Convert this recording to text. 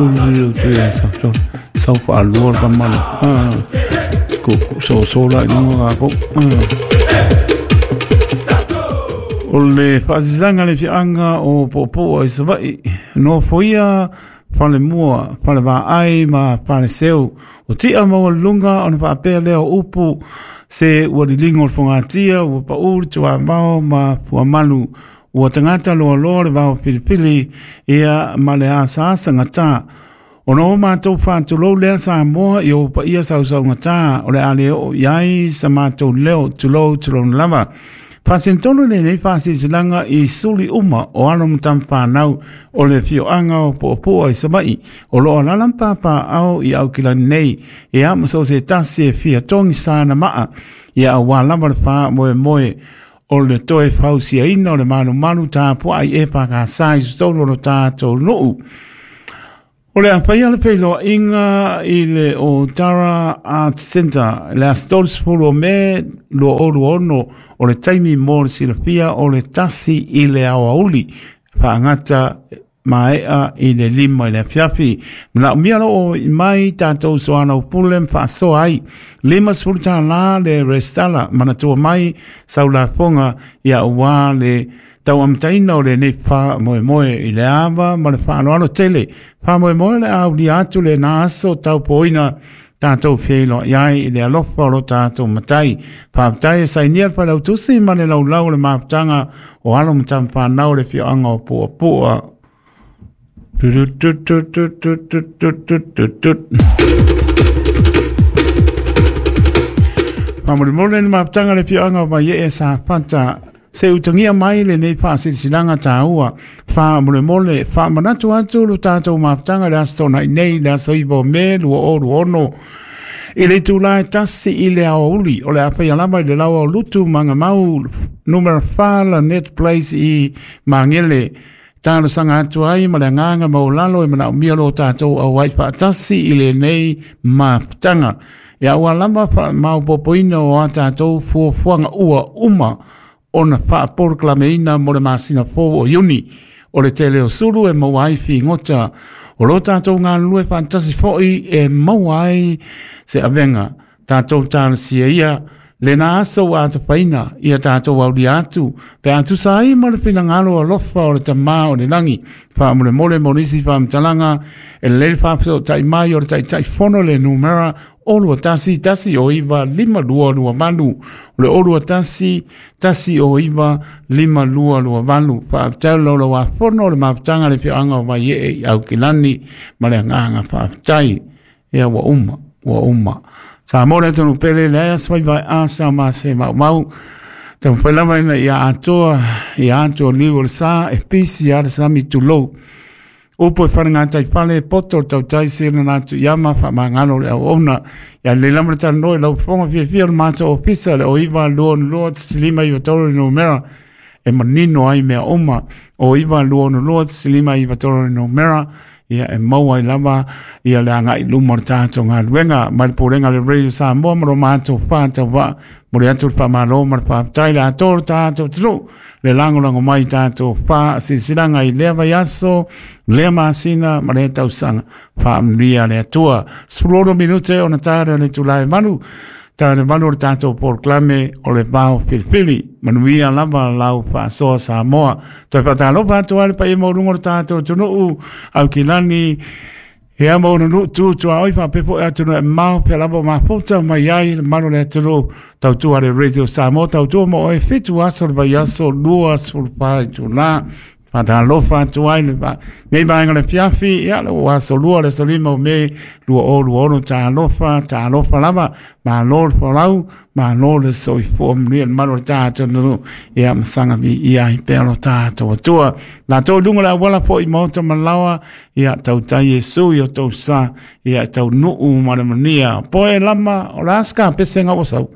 10 te sau faalua le tama soso la i luga tatou. O le faasisaga le afioaga o Puapua i Savaii, nofoia falemua, falevaai ma faleseu. O tia maualuluga ona faapea lea o upu se ua liligo le fogatia, ua pau le tuavao ma fuamalu. Ua tagata loaloa le vao filifili ia ma le asaasa gata. Ona o matou faatulou lea Samoa i ou paia sausaugata, o le a le oo i ai sa matou leo, tulou tulou lava. Faasinotonu lenei faasilasilaga i suli uma o alo ma tamafanau o le afioaga o Puapua i Savaii, o lo o alaala ma papaaao i Aukilani nei, ia ma so o se tasi e fia togi sana maa, ia aua lava le faamoemoe o le toe fausiaina o le malumalu tapuai e pakasa i totonu o lo tatou nuu. O le a faia le feiloaiga i le Otara Art Centre le aso 30 o Me 2026, o le taimi mo le silafia o le 1 i le aoauli, faagata maea i le 5 i le afiafi. Manaomia loo mai tatou soalaupule ma faasoa ai. $50 le resitala, manatua mai saulafoga ia aua le tauamataina o lenei faamoemoe i le ava ma le faaaloalo tele. Faamoemoe le aulia atu lena aso taupoina tatou feiloai ai i le alofa o lo tatou matai. Faafetai e sainia le failautusi ma le laulau o le mafutaga o alo ma tamafanau o le afioaga o Puapua. Faamolemole le mafutaga o le afioaga o Vaiee Safata, se utagia mai lenei faasilasilaga taua. Faamolemole faamanatu atu lo tatou mafutaga le aso Toonai nei, le aso 9 o Me 2026, i le itula e 1 i le aoauli. O le a faia lava i le laoa o Lutu Magamau numera 4 la Net Place i Magele. Talosaga atu ai ma le agaga maualalo e manaomia lo tatou auai faatasi i lenei mafutaga. Ia ua lava faamaopoopoina o a tatou fuafuaga ua uma ona faapolokalameina mo le masina fou o Iuni. O le tele o sulu e maua ai figota o lo tatou galulue faatasi foi e maua ai se avega. Tatou talosia ia lena aso ua atafaina ia tatou aulia atu pe a tusa ai ma le finagalo alofa o le Tamā o le lagi. Faamolemole mo nisi faamatalaga e lelei le faafesootai mai o le Taitaifono le numera o 21 1 o 9 5 2 2 8, o le o 21 1 o 9 5 2 2 8. Faafetai o laulau-a-fono o le mafutaga le afioaga o Vaiee i Aukilani ma le agaga faafetai. Ia ua uma, ua uma. Samoa le atunuu pele, leai aso fai vai a sa ma se maumau. Taumafai lava ina ia atoa, ia atoa liu o le sa, e pisi a le sami tulou. Upu e fale gatai fale, poto o le tautai se na atu i ama, faamagalo le auauna. Ia lelei lava le talanoa i lau fofoga fiafia o le matou ofisa, le o 9 2 2 5 9 3 le numera e manino ai mea uma. O 9 2 2 5 9 3 le numera ia e maua ai lava ia le agai i luma o le tatou galuega. Mai le Pulega le Radio Samoa ma lo matou whātauvaa, mo le atu le whamalo ma le whāptai le atoa o le tatou atunuu, le lagolago mai tatou faasilasilaga i lea vaiaso, lea masina ma lea tausaga. Faamanuia le Atua. 16 minute ona tara le itula e 8, tara le 8 o le tatou polokalame o le Vao Filifili. Manuia lava lau faasoa Samoa. Toe faatalofa atu ai le paia maualuga o le tatou atunuu, Aukilani, ia ma ona nuu tu tuaoi faapea foi atunuu e mamao, pea lava o mafuta mai ai le mamalu o le atunuu. Tautua le Radio Samoa, tautua mo oe 7 aso le vaiaso, 24 itula. Faatalofa atu ai le nei vaega o le afiafi, ia le ua aso 2 le aso 5 o Me 2026. Talofa, talofa lava, malo le folau, malo le soifua, manuia le mamalu o le tatou atunuu, ia ma saga viia ai pea lo tatou Atua. Latou i luga o le auala foi maota ma laoa, ia tautai Iesu i o tou sa, ia taunuu ma le manuia. Poe lama, o le a se kapese ga ua sau?